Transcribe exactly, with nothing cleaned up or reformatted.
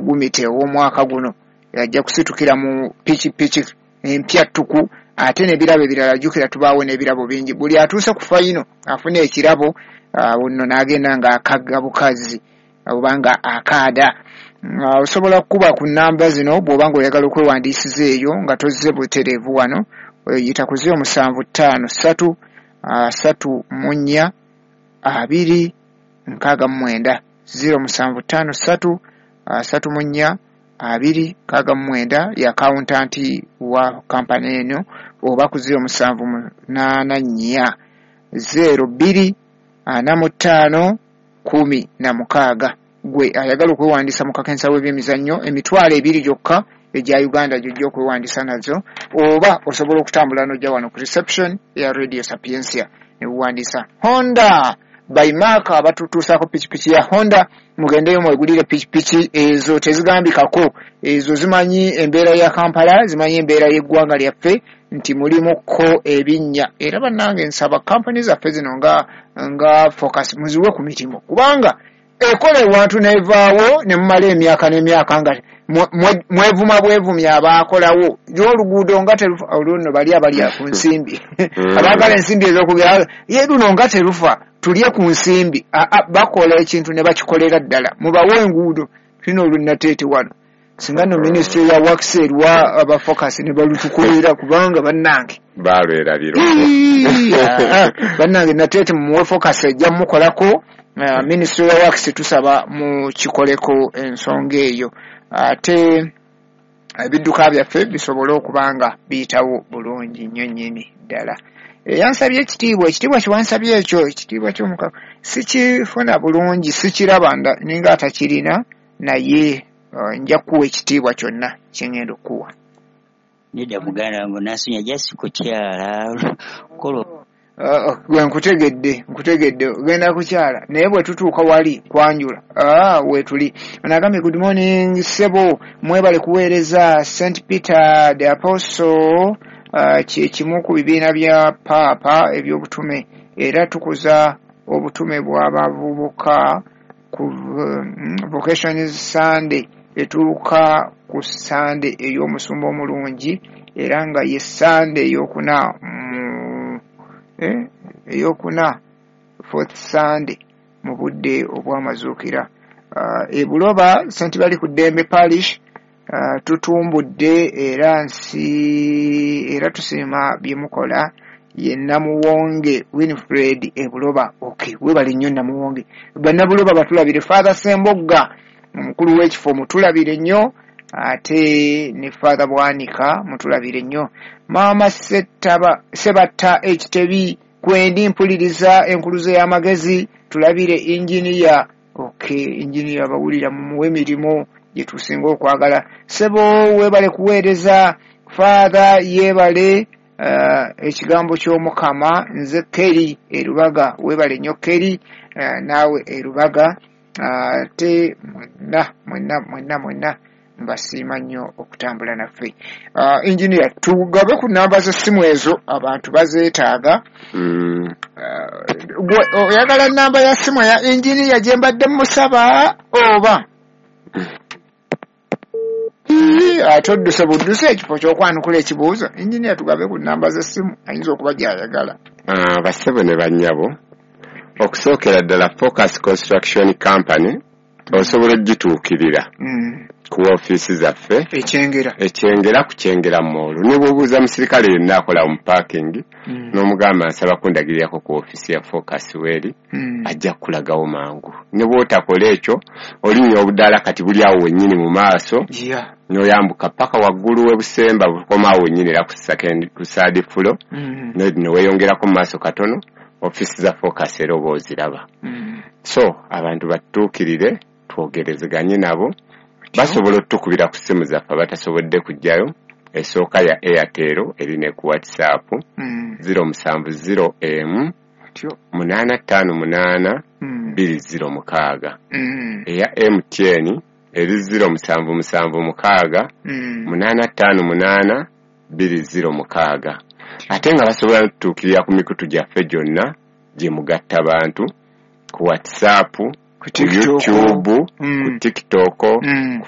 Gumite ow'omwaka guno ajja kusitukira mu pikipiki empya ttuku, ate n'ebirabo ebirala. Jjukira tubaawo n'ebirabo bingi, buli atuuse ku final afuna ekirabo, awo nno n'agenda ng'akagga bukazi oba nga akaada. Ah, osobola kukuba ku namba zino bw'oba ng'oyagala okwewandiisiza eyo nga tozze butereevu wano, oyita ku ziro musanvu ttaano ssatu asatu mu nnya abiri nkaaga mu mwenda, ziro musanvu ttaano ssatu asatu mu nnya abiri nkaaga mu mwenda, ye accountant wa kampani eno, oba ku ziro musanvu munaana nnya zero bbiri ana mu ttaano kumi na mukaaga. Gwe ayagala okwewandiisa mu kakensa w'ebyemizannyo, emitwalo ebiri gyokka egya Uganda gyojja okwewandiisa nazo, oba osobola okutambula n'ojja wano ku reception ya Radio Sapientia ne buwandiisa. Honda by Mark abatutuusaako pikipiki ya Honda, mugendeyo mwegulire pikipiki ezo, tezigambikako, ezo zimanyi embeera ya Kampala, zimanyi embeera y'eggwanga lyaffe nti mulimuko ebinnya. Era bannange, nsaba kampani zaffe zino nga nga Focus muziwe ku mirimu, kubanga ekola ewantu nevaawo ne mumala emyaka n'emyaka nga mwe- mwe- mwevuma bwevumya abaakolawo oluguudo nga terufa. Olwo nno bali abalya ku nsimbi, abaagala ensimbi ez'okugera ye luno nga terufa, tulye ku nsimbi. Aa, bakola ekintu ne bakikolera ddala. Mubawe enguudo tulina olunateete wano, singa no Ministry ya Works eriwa aba Focus ne balutukolera, kubanga bannange balwerabira. Ii, ah, bannange, Nateete mumuwe Focus, ejja mukolako. uh, ministry ya Works tusaba mukikoleko ensonga eyo, ate ebidduka byaffe bisobole okuba nga biyitawo bulungi nnyo nnyini ddala. Eyansabye ekitiibwa, ekitiibwa kiwansabye ekyo, ekitiibwa ky'omukama sikifuna bulungi, sikiraba, nda- ninga atakirina, naye uh, nja kukuwa ekitiibwa kyonna kyengenda okukuwa. Nedda muganda wange, nasinya jasi kukyala kola. Uh, gwe nkutegedde, nkutegedde, ogenda kukyala, naye bwe tutuuka wali kwanjula, ah, weetuli. Onagambye, "Good morning ssebo, mwebale kuweereza. Saint Peter the Apostle uh, kye kimu ku bibiina bya paapa eby'obutume, era tukuza obutume bw'abavubuka ku um, Vocation Sunday etuuka ku Sunday ey'omusumba omulungi, era nga ye Sunday ey'okuna mu eh, eyokuna, fourth Sunday mu budde obw'amazuukira. uh, ebuloba Saint Bali ku Ddembe Parish, uh, tutumbudde era nsi era tusiima bye mukola. Ye Namuwonge Winfred ebuloba." Okay, webale nnyo Namuwonge. Bannabuloba batulabire, Father Sembogga omukulu w'ekifo mutulabire nnyo, ate ne Father Bwanika mutulabire nnyo. Maama Settaba Sebatta Ekitebi, kwendi mpuliriza enkuluzo y'amagezi, tulabire inginiya. Okay, inginiya bawulira, mumuwe emirimu gye tusinga okwagala. "Sebo weebale kuweereza, Father yeebale uh, ekigambo ky'Omukama. Nze Keri Erubaga." Weebale nnyo Keri, uh, naawe Erubaga. Ate mwenna mwenna mwenna mwenna mbasiima nnyo okutambula naffe. uh, engineer, tugabe ku namba z'essimu ezo, abantu bazeetaaga. Mm. Uh, gwe oyagala namba ya simu ya engineer gye mbadde musaba, oba Ii, ate odduse budduse ekifo ky'okwanukula ekibuuzo? Engineer, tugabe ku namba z'essimu, ayinza okuba gy'ayagala. Ah, bassebo ne bannyabo, okusookera ddala Focus Construction Company osobola ogituukirira Mm. ku ofiisi zaffe Ekyengera. Ekyengera, ku Kyengera Mall. Ne bw'obuuza musirikale yenna akola mu parking Mm. n'omugamba, "Nsaba kundagirirako ku ofiisi ya Focus weeri," Mm. ajja kukulagawo mangu. Ne bw'otakola ekyo, olinnya obudaala kati buli awo wennyini mu maaso, Yeah. n'oyambuka paka waggulu w'ebusemba, bukoma awo wennyini era ku second, ku third floor, Mm. ne ne weeyongerako mu maaso katono, ofiisi za Focus era oba oziraba. Mm. So abantu batutuukirire twogerezeganye nabo. Basobola otutukubira ku ssimu zaffe abatasobodde kujjayo. Esooka ya Airtel, eri ne ku WhatsApp, Mm. zero musanvu zero emu Tyo. munaana ttaano munaana Mm. bbiri zero mukaaga. Mm. Eya M T N eri zero musanvu musanvu mukaaga Mm. munaana ttaano munaana bbiri zero mukaaga. Ate nga basobola n'otutuukirira ku mikutu gyaffe gyonna gye mugatta bantu, ku WhatsApp, ku ku TikTok. YouTube, Mm. ku TikTok, Mm. ku